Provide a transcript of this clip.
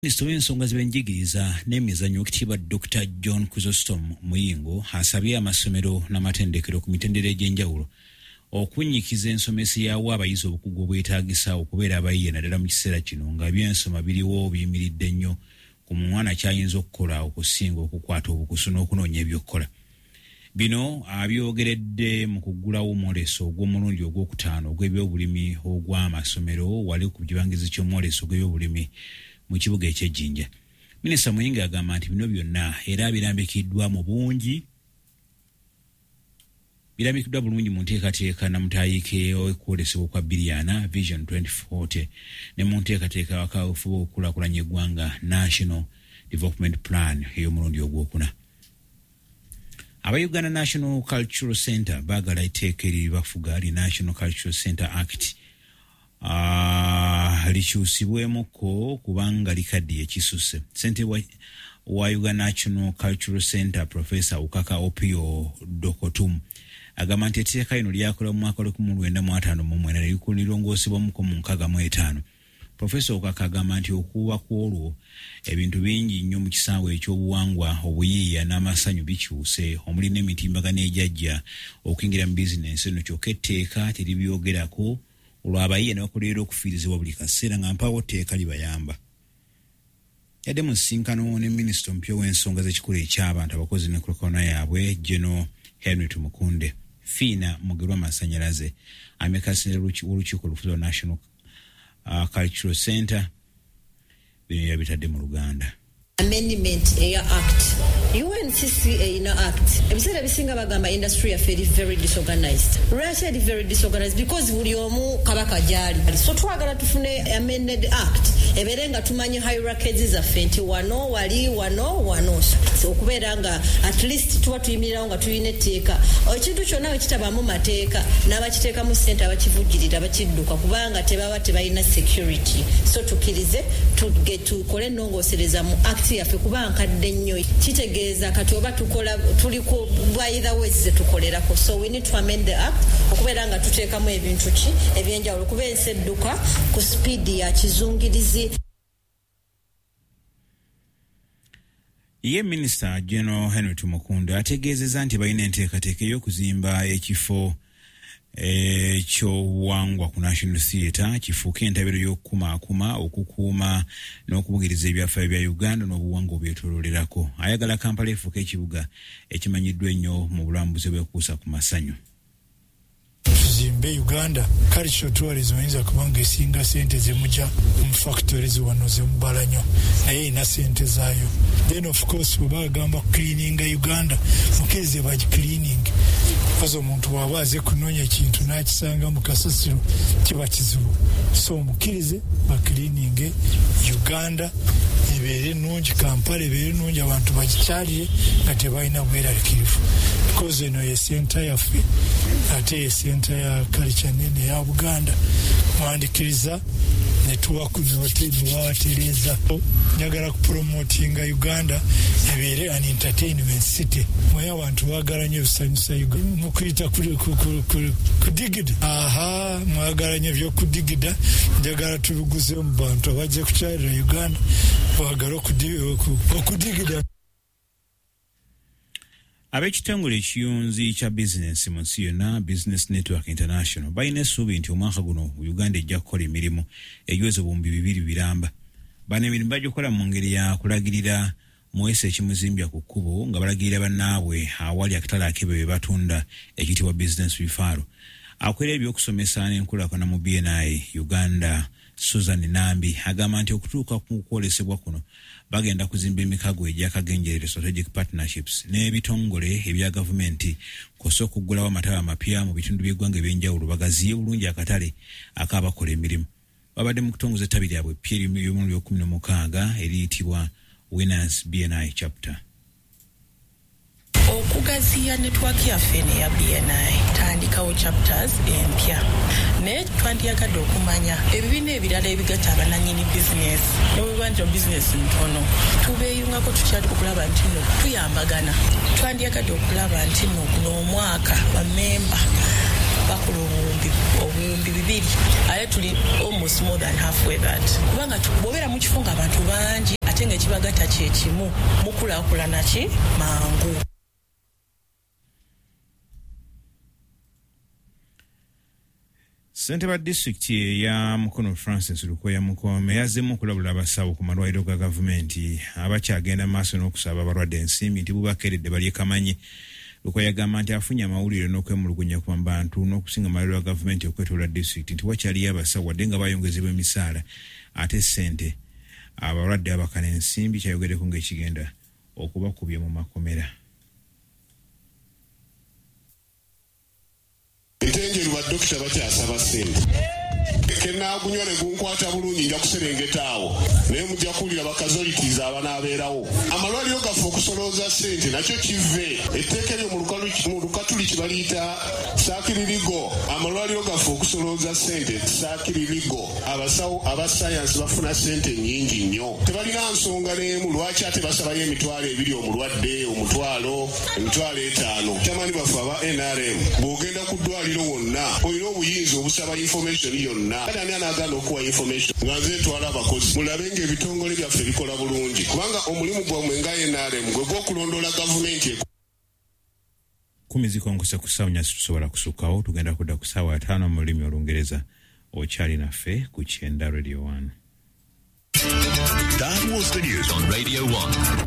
Minisita w'ensonga z'ebyenjigiriza n'emizannyo, Oweekitiibwa Dr John Chrysostom Muyingo, asabye amasomero n'amatendekero ku mitendera egy'enjawulo okunnyikiza ensomesa yawa abayizi obukugu obwetaagisa okubeera abayiiya, naddala mu kiseera kino nga ebyensoma biriwo biyimiridde nnyo ku mwana kyayinza okukola okusinga okukwata obukusu n'okunoonya ebyokukola. Bino abyogeredde mu kuggulawo omwoleso ogw'omulundi ogwokutaano ogw'ebyobulimi ogw'amasomero wali ku kibangizi ky'omwoleso ogw'ebyobulimi mu kibuga eky'Ejjinja. Minisita Muyingo agamba nti bino byonna era birambikiddwa mu bungi, birambikiddwa bulungi mu nteekateeka namutaayiike okwolesebwa okwa 2040, Vision 2040, ne mu nteekateeka wakaweefube okukulaakulanya eggwanga, National Development Plan ey'omulundi ogwokuna. Aba Uganda National Cultural Center baagala etteeka eribafuga li National Cultural Center Act likyusibwemukko kubanga likaddiye kisusse. Ssentebe wa Uganda National Cultural Center, Professor Ukaka Opio Dokotum, agamba nti etteeka lino lyakola mu mwaka 1959 ne lirongoosebwamuko mu 65. Profesa Ukaka agamba nti okuba ku olwo ebintu bingi nnyo mu kisaawe ekyobuwangwa, obuyiiya n'amasanyu bikyuse, omuli n'emitimbagano egyajja okuyingira mu bizinensi eno, kyokka etteeka teribyogerako, olwo abayiiya ne bakolerera okufiirizibwa buli kaseera nga mpaawo tteeka libayamba. Yadde mu nsisinkano ne minisita omupya ow'ensonga z'ekikula eky'abantu, abakozi n'enkulaakulana yaabwe, General Henry Tumukunde, Fiina Mugerwa Masanyalaze amyuka w'olukiiko olufuzi lwa National Cultural Center, bino yabitadde mu Luganda. Amendment eya Act, UNCC erina Act. Ebiseera ebisinga bagamba industry yaffe eri very disorganized. Lwaki eri very disorganized? Because buli omu kabaka gyali. So twagala tufune amended Act ebeere nga tumanyi hierarchies zaffe nti wano wali, wano wano, okubeera nga at least tuba tuyimirirawo nga tulina etteeka. Ekintu kyonna bwe kitabaamu mateeka, n'abakiteekamu ssente abakivujjirira bakidduka kubanga tebaba tebalina security. So tukkirize tukole ennongoosereza mu Act yaffe kuba nkadde nnyo. Kitegeeza kati oba tukola tuliko by the ways zetukolerako. So we need to amend the Act okubeera nga tuteekamu ebintu ki ebyenjawulo kuba ensi edduka ku sipiidi ya kizungirizi. Ye Minisita General Henry Tumukunde ategeezezza nti balina enteekateeka ey'okuzimba ekifo ekyobuwangwa ku National Theatre kifuuke entabiro y'okukumaakuma, okukuuma n'okubugiriza ebyafaayo bya Uganda n'obuwangwa obyetoloolerako. Ayagala Kampala efuuke ekibuga ekimanyiddwa ennyo mu bulambuzi obwekuusa ku masanyu. Tuzimbe Uganda cultural tourism. Oyinza kubanga esinga sente zemujja mu factories wano zemubala nnyo, naye erina sente zaayo. Then of course bwe bagamba cleaninga Uganda, mukirize bagicleaning, because omuntu bw'aba aze kunoonya ekintu n'akisanga mu kasasiro kiba kizibu. So mukirize bacleaninge Uganda ebeere nungi, Kampala ebeere nungi, abantu bagikyalire nga tebalina bweraliikirivu, because eno ye center yaffe ate ye center ya culture nene ya Buganda. Mwandikiriza netuwatereeza. Njagala kupromotinga Uganda ebeere an entertainment city. Mwe abantu baagala nnyo ebisanyusa, mukuyita kudigida. Aha, mwagala nnyo ebyokudigida. Njagala tubiguze mu bantu abajja kukyalira Uganda, baagala okudigida. Ab'ekitongole ekiyunzi kya bizinensi mu nsi yonna, Business Network International, balina essuubi nti omwaka guno Uganda ejja kukola emirimu egiweza 2000 biramba. Bano emirimu bagikola mu ngeri ya kulagirira muweesa ekimuzimbya ku kkubo nga balagirira bannaabwe awali akatale ak'ebyo bye batunda ekiyitibwa business referral. Akolera ebyokusomesa n'enkulaakulana mu BNI Uganda, Susan Nambi, agamba nti okutuuka ku kwolesebwa kuno bagenda kuzimba emikago egyakagenjerere, strategic partnerships, n'ebitongole ebya gavumenti kw'ossa okuggulawo amataba amapya mu bitundu by'eggwanga ebyenjawulo bagaziye bulungi akatale ak'abakola emirimu. Babadde mu kutongoza ettabi lyabwe eppya ery'omulundi 16 eriyitibwa Winners BNI Chapter. Okugaziya network yaffe eno eya BNI, tandikawo chapters empya, naye twandiyagadde okumanya ebibiina ebirala ebigatta abananyini bizinesi nobweba nti bizinesi ntono, tubeeyungako tutya okulaba nti no tuyambagana? Twandiyagadde okulaba nti no guno omwaka bamemba Bakola obuwumbi 2, ate tuli almost more than halfway that. Kubanga bw'obeera mu kifo ng'abantu bangi ate ng'ekibagatta kye kimu, mukulaakulana ki mangu. Ssentebe wa disitulikiti eya Mukono Francis Lukoya Mukome yazzeemu okulabula abasawo ku malwaliro ga gavumenti abakyagenda maaso n'okusaba abalwadde ensimbi nti bubakeeredde balye kamanyi. Lukoya agamba nti afunye amawulire n'okwemulugunya ku bantu n'okusinga amalwaliro ga gavumenti okwetoola disitulikiti nti wakyaliyo abasawo wadde nga bayongezebwa emisaala ate ssente abalwadde abakana ensimbi, kyayogeddeko ng'ekigenda okubakubya mu makomera. Entenjeru badokita bakyasaba ssente. Kenaagunywa ne gunkwata bulungi nja kuserengeta awo, naye mujja kuwulira bakazolitiza abanaabeerawo. Amalwaliro gaffe okusolooza ssente nakyo kive etteeka eryo mu Lukatuliki baliyita saakiririgo. Amalwaliro gaffe okusolooza ssente saakiririgo. Abasawo aba sayansi bafuna ssente nnyingi nnyo, tebalina nsonga n'emu lwaki ate basabayo 20,000 omulwadde, 1,000, 5,000. Kyamaanyi baffe aba NRM, bw'ogenda ku ddwaliro wonna olina obuyinza obusaba information yonna. Kati ani anaagaana okuwa information? Nga nze ntwala abakozi, mulabe ng'ebitongole byaffe bikola bulungi, kubanga omulimu gwammwe nga NRM gwe gw'okulondoola gavumenti. 10 zikonkose ku ssaawa 4, tusobola kusukkawo, tugenda kudda ku ssaawa 5 mu lulimi Olungereza. Okyali naffe ku Kyenda Radio 1. That was the news on Radio 1.